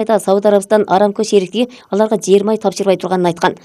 Сауд Арабистан Арамко шериктиги аларга жер май тапшырбай турганын айткан.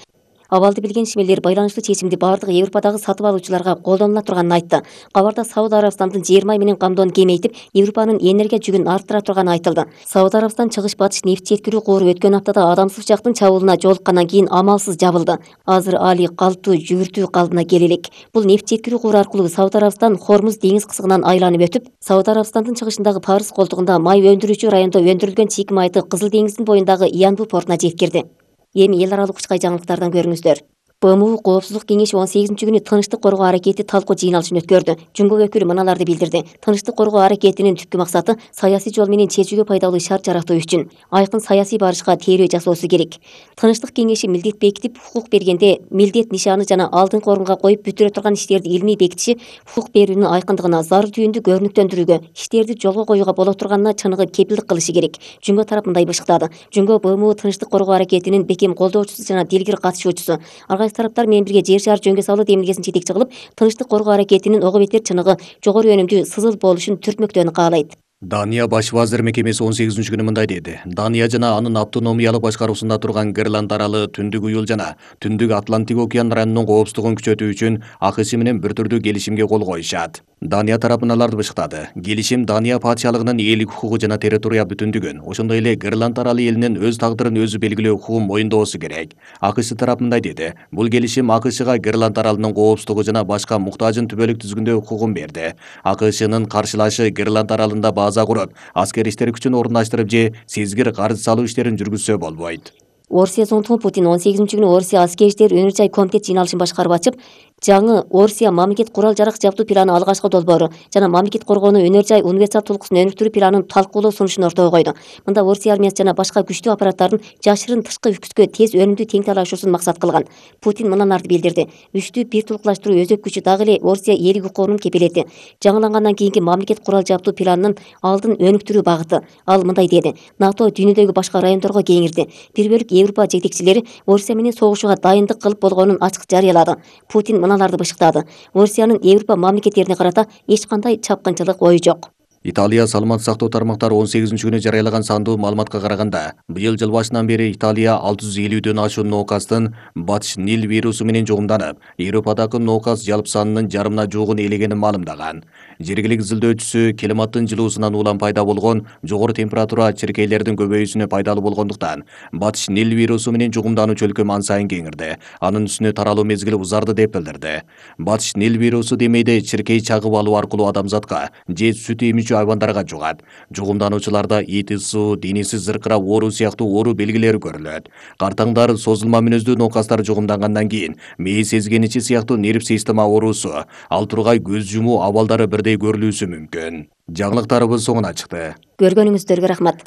Абалды билген ишмерлер байланыштуу чечимди бардык Европадагы сатып алуучуларга колдонула турганын айтты. Кабарда Сауд Арабистандын жер май менен камдоонун кеңейтип, Европанын энергия жүгүн арттыра турганы айтылды. Сауд Арабистан чыгыш-батыш нефт жеткирүү кууру өткөн аптада адамсыз жактын чабуулуна жолуккандан кийин амалсыз жабылды. Азыр али калптуу жүгүртүү калыбына келе элек. Бул нефт жеткирүү кууру аркылуу Сауд Арабистан Хормуз деңиз кысыгынан айланып өтүп, Сауд Арабистандын чыгышындагы Парыз колтугунда май өндүрүүчү райондо өндүрүлгөн чийки майды Кызыл деңиздин боюндагы Янбу портуна жеткирди. Эми эл аралык учкай жаңылыктардан көрүңүздөр. БМУ Коопсуздук кеңеши 18-күнү тынычтык коргоо аракети талкуу жыйналышын өткөрдү. Жумгок өкүлү мыналарды билдирди. Тынычтык коргоо аракетинин түпкү максаты саясий жол менен чечүүгө пайдалуу шарт жаратуу үчүн айкын саясий барышка тейлөө жасоосу керек. Тынычтык кеңеши милдет бекитип, хукук бергенде милдет нишаны жана алдыңкы орунга коюп бүтүрө турган иштерди илмий бекитиши хукук берүүнүн айкындыгына, зарыл түйүндү көрүнүктөндүрүүгө, иштерди жолго коюуга боло турганына чыныгы кепилдик кылышы керек. Жумго тарап мындай бышыктады. Жумго БМУ тынычтык коргоо аракетинин бекем колдоочусу жана дилгир катышуучусу. Тараптар менен бирге жер шаар жөнгө салуу демилгесин жетекчи кылып, тынычтык коргоо аракетинин ого бетер чыныгы, жогору өнүмдүү, сызыл болушун түртмөктөөнү каалайт. Дания баш вазир мекемеси 18-күнү мындай деди. Дания жана анын автономиялык башкаруусунда турган Гренланд аралы, Түндүк Уюл жана Түндүк Атлантик океан районунун коопсуздугун күчөтүү үчүн АКШ менен бир түрдүү келишимге кол коюшат. Дания тарапы мыналарды бышыктады. Келишим Дания патшалыгынын ээлик укугу жана территория бүтүндүгүн, ошондой эле Гренланд аралы элинин өз тагдырын өзү белгилөө укугун моюндоосу керек. АКШ тарапы мындай деди. Бул келишим АКШга Гренланд аралынын коопсуздугу жана башка муктажын түбөлүк түзгөндө укугун берди. АКШнын каршылашы Гренланд аралында база куруп, аскер иштер күчүн орундаштырып же сезгир карыз салуу иштерин жүргүзсө болбойт. Орусия зонтугу Путин 18-күнү Орусия аскер иштер өнөр жай комитет жыйналышын башкарып ачып, жаңы Орусия мамлекет курал жарак жабдуу планы алгачкы долбоору жана мамлекет коргоонуу өнөр жай универсал толкусун өнүктүрүү планын талкуулоо сунушун ортого койду. Мында Орусия армиясы жана башка күчтүү аппараттардын жашырын тышкы үкүткө тез өнүмдүү тең талашуусун максат кылган. Путин мыналарды билдирди. Үчтүү бир тулкулаштыруу өзөк күчү дагы эле Орусия ээлик укугунун кепилети. Жаңылангандан кийинки мамлекет курал жабдуу планынын алдын өнүктүрүү багыты. Ал мындай деди. НАТО дүйнөдөгү башка райондорго кеңирди. Бир бөлүк Европа жетекчилери Орусия менен согушууга дайындык кылып болгонун ачык жарыялады. Путин мыналарды бышыктады. Орусиянын Европа мамлекеттерине карата эч кандай чапкынчылык ою жок. Италия саламаттык сактоо тармактары 18-күнү жарыялаган сандуу маалыматка караганда, быйыл жыл башынан бери Италия 650дөн ашуун ноокастын батыш Нил вирусу менен жугумданып, Европадагы ноокас жалпы санынын жарымына жуугун ээлегенин маалымдаган. Жергилик изилдөөчүсү климаттын жылуусунан улам пайда болгон жогору температура чиркейлердин көбөйүүсүнө пайдалуу болгондуктан, батыш Нил вирусу менен жугумдануучу өлкө ан сайын кеңирди. Анын үстүнө таралуу мезгили узарды деп билдирди. Батыш Нил вирусу демейде чиркей чагып алуу аркылуу адамзатка же сүт эмүүчү айбандарга жугат. Жугумдануучуларда ит ысуу, денеси зыркырап ооруу сыяктуу оору белгилери көрүлөт. Картаңдар, созулма мүнөздүү ноокастар жугумдангандан кийин мээ сезгеничи сыяктуу нерв система оорусу, ал тургай көз жумуу абалдары бирдей көрүлүүсү мүмкүн. Жаңылыктарыбыз соңуна чыкты. Көргөнүңүздөргө рахмат.